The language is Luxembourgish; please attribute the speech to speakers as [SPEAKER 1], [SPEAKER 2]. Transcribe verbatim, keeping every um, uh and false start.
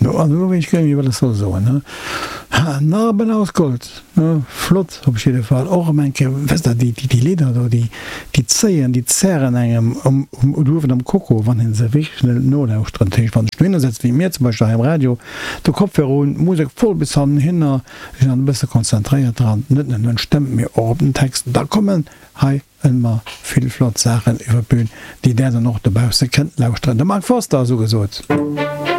[SPEAKER 1] No, also elo weess ech guer net méi, wat ech soll soen, ne? Narben aus Gold, ne? Flott op jidde Fall. Och erëm eng Kéier, wësst Der, déi, déi Lidder do, déi, déi zéien, déi zerren engem um, um, uewen am Koko, wann een se wierklech net nolauschteren. Dat heescht, wann ech dohinner sëtz, wéi mir zum Beispill hei am Radio, de Kopfhörer un, d'Musek voll bis hannenhinner, ech sinn dann e bësse konzentréiert dran, net nëmmen un d'Stëmm, mee och op den Text, da kommen hei ëmmer vill flott Saachen iwwer d'Bün, déi där dann och dobausse kënnt lauschteren. De Mark Forster ass ugesot.